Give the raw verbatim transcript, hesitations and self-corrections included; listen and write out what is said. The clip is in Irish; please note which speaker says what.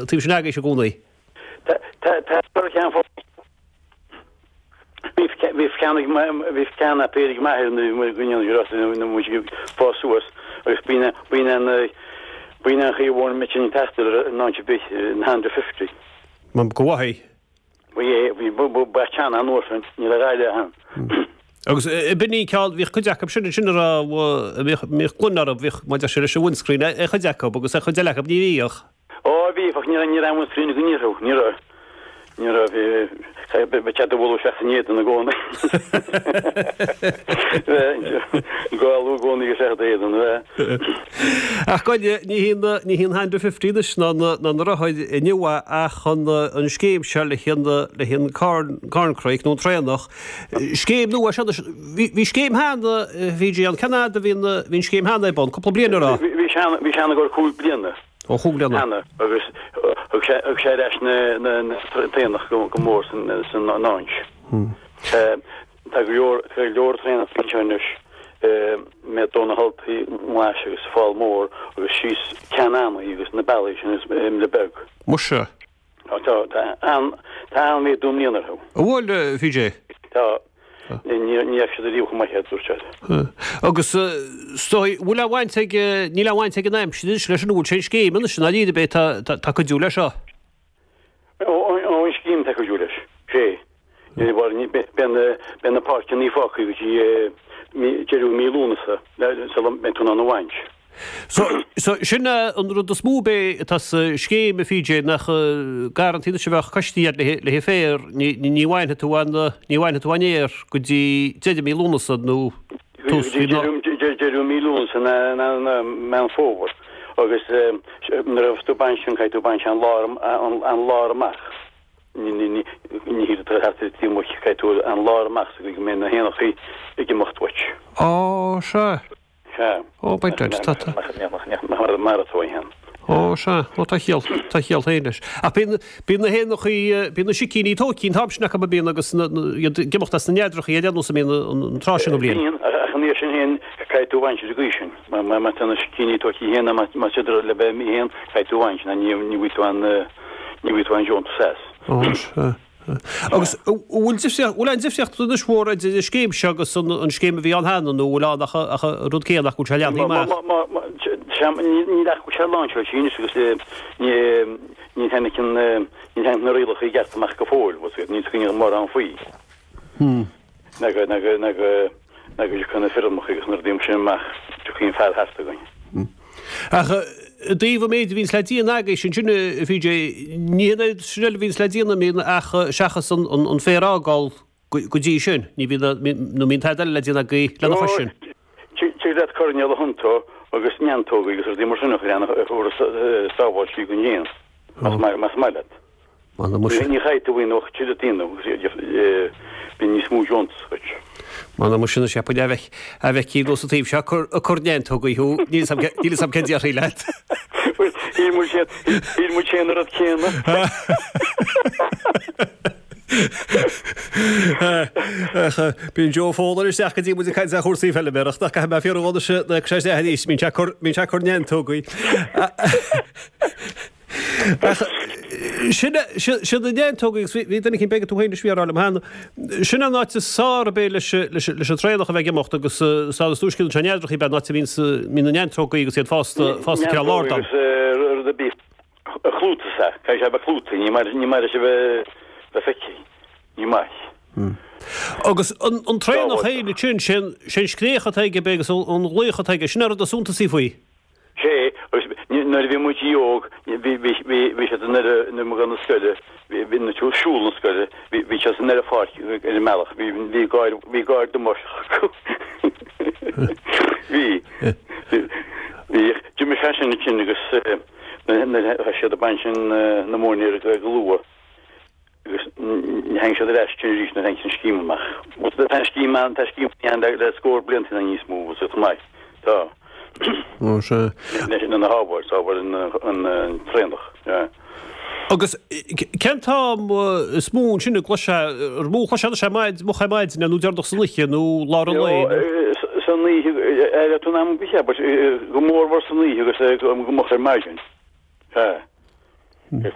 Speaker 1: taobh sin agaibhse i gcónaí.
Speaker 2: Tá tá ceann Bhí ceann bhí ceann a péir ag m'athair nuair go ndéanamh muid ag fás suas agus b'in b'in an b'in an chaoi amháin a mbeinn ag taisteal ar an áit ar bith an Honda fifty.
Speaker 1: Go mhaith.
Speaker 2: Bhí bhí ba ceann an uair sin níl a dhath eile ann.
Speaker 1: Agus b'in í ceann bhíodh cuid acu sin sin a raibh bhíodh bhíodh gloine orthu bhíodh mar deir sé leis an windscreen ar chuid acu agus ar chuid eile acu ní bhíodh.
Speaker 2: Ó bhí ach ní raibh ní raibh an windscreen againn orthu ní raibh ní raibh bhí ba cheart a bhualadh isteach san éadan i gcónaí. Gálu i gcónaí isteach i d'éadan bheith.
Speaker 1: Ach goile ní hí ní hí an Honda fifty anois ná na ná na rothair inniu ach an an scéim seo le haghaidh le haghaidh an corn corncrake nó an traonach. Scéim nua seo anois bhí bhí scéim cheana PJ an cén fhad a bhí an bhí an scéim cheana ar bun cúpla bliain a raibh.
Speaker 2: Bhí bhí sé bhí sé ann i gcomhair cúig bliana.
Speaker 1: Ó chúig bliana.
Speaker 2: Cheana agus thug sé thug sé ar ais na na na traonach go go mór san san áint. Tá go leor tá go leor traonach anseo anois mé dó na haltaí nglais agus fál mór agus síos Ceann Annaidh agus na bealaí sin is Imle Beag.
Speaker 1: Muise.
Speaker 2: Tá tá tá an tá an-mhéadú i mbliana orthu.
Speaker 1: An bhfuil, PJ?
Speaker 2: Tá. Ní ní fhaca siad ariamh chomh maith é, dúirt siad.
Speaker 1: Agus is dóigh, bhfuil aon bhaint ag, níl aon bhaint ag an aimsir anois leis an bhfuil sé an scéim anois, i ndáiríre b'é tá tá cuidiú leis seo.
Speaker 2: Ó ó an scéim tá cuidiú leis. Sé. Ní bhar ní beidh na beidh na páirceanna fágtha go dtí deireadh mí Lúnasa sula mbeidh tú in ann a bhaint.
Speaker 1: So, so sin an rud is mó b'é atá sa scéim, a PJ, nach garrantaí anois a bheadh coistí agat le le féar, ní ní bhainfidh tú an ní bhainfidh tú an fhéar go dtí deireadh mí Lúnasa nó tús mhí
Speaker 2: ná. Deireadh mí Lúnasa ná ná ná Meán Fómhair agus nuair a bheas tú ag baint sin caithfidh tú baint an lár an lár amach. Ní ní ní ní thig leat thart ar an taobh amuigh caithfidh tú an lár amach sa gcaoi go mbeidh na héanachaí ag imeacht uait.
Speaker 1: Á, sea.
Speaker 2: Sea.
Speaker 1: Ó, beidh duit, tá, tá.
Speaker 2: Nach mar atá í féin.
Speaker 1: Ó, sea, ó tá chiall, tá chiall féin leis. Ach bíonn, bíonn na héanachaí, bíonn na sicíní tóigthe an t-am sin acu a bíonn agus na, na, iad ag imeacht as na neadrachaí ar aon nós a mbíonn an, an tráth sin den bhliain.
Speaker 2: Bíonn, ach an iarraidh sin féin, caithfidh tú a bhaint ar an gcaoi sin. Má, má, má tá na sicíní tóigthe féin, má, má siad le bheith imithe féin, caithfidh tú a bhaint, nó ní, ní bhfaighidh tú an, ní bhfaighidh tú an deontas as.
Speaker 1: Ó, sea. Agus an bhfuil difríocht, bhfuil aon difríocht anois mhór idir an scéim seo agus an an scéim a bhí ann cheana nó bhfuil ann ach ach an rud céanna ach go bhfuil sé leathnaithe amach?
Speaker 2: Má, má, má, sea, níl ach go bhfuil sé láinseáilte anois agus ní ní tháinig an ní tháinig na rialacha i gceart amach go fóill, bhfuil a fhios agat, níl a fhios againn mórán faoi. Ná go, ná go, ná go, ná go dtiocfaidh na foirmeacha agus na rudaí mar sin amach, tiocfaidh an fear thart againn.
Speaker 1: Ach i dtaobh an méid a bhíonns le déanamh agaibhse ansin, a PJ, ní hé an oiread sin eile a bhíonns le déanamh, bíonn ach seachas an féar a fhágáil go dtí sin, ní bhíonn, nó mbíonn tada eile le déanamh agaibh lena chois sin.
Speaker 2: Tig leat coirnéal a thiontú agus neantógaí agus rudaí mar sin a chur ann a thabharfas sábháiltí don éan, más maith leat.
Speaker 1: M'anam muise.
Speaker 2: Ní chaithfidh tú aon uacht tuilleadh daoine agus bíonn níos mó deontas duit.
Speaker 1: M'anam muise anois cheapfainn a bheith a bheith cíor nós an taobh seo ag cur ag cur neantógaí thú níl 'fhios a'm níl 'fhios a'm cén déarfaí leat.
Speaker 2: Bhuel shíl muid féin shíl muid féin an rud céanna.
Speaker 1: Ach bíonn Joe Fowler isteach go dtí muid ag caint ar chúrsaí feilméarachta ach caithfidh mé fiafraí dhó anois nuair a thiocfaidh sé isteach arís bíonn sé ag cur bíonn sé ag cur neantógaí. Ach sin siad na neantógaí agus bhí duine eicínt b'fhéidir tú féin anois a bhí á rá liom cheana, sin an áit is fearr ab é leis leis an traonach a bheith ag imeacht agus sa is túisce an neadrachaí ab é an áit a mbíonn mbíonn na neantógaí agus iad fásta fásta cineál ard ann.
Speaker 2: Neantógaí agus rud ar bith a chlúdaigh sea, caithfidh sé a bheith clúdaithe, ní maith ní maith leis a bheith bheith feicthe, ní maith.
Speaker 1: Agus an an traonach féin ansin, sé an scréach atá aige ab é agus an ghlaoch atá aige, sin an rud is suntasaí faoi.
Speaker 2: Sé, agus nuair a bhí muid óg, bhí, bhí, bhí, bhí siad i nDoire, nuair a bhí na scoile, bhí, bhí na siúl, siúl na scoile, bhí, bhí siad sa nDoire Pháirc ar an mbealach, bhí, bhí gáir, bhí gáir damáisteach acu. Bhí, bhí, bhí, d'imigh sé sin ansin agus nuair a thosaigh siad ag baint sin na móinéir go luath. Agus ní tháinig siad ar ais ansin arís nuair a tháinig an scéim amach. Bhuel, tá an scéim ann, tá scéim ann le, le scór blianta nó níos mó, bhfuil chomh maith. Tá.
Speaker 1: Ó, sea.
Speaker 2: Leis an sábháil, sábháil an, an, an traonach, yeah.
Speaker 1: Agus cén t-am is mó ansin a gcloisfeá, ar mó a chloisfeá anois é maid, moch ar maidin nó deireanach san oíche nó lár an lae nó?
Speaker 2: San oíche, ar an am go cheap, go mórmhór san oíche agus go moch ar maidin. Sea.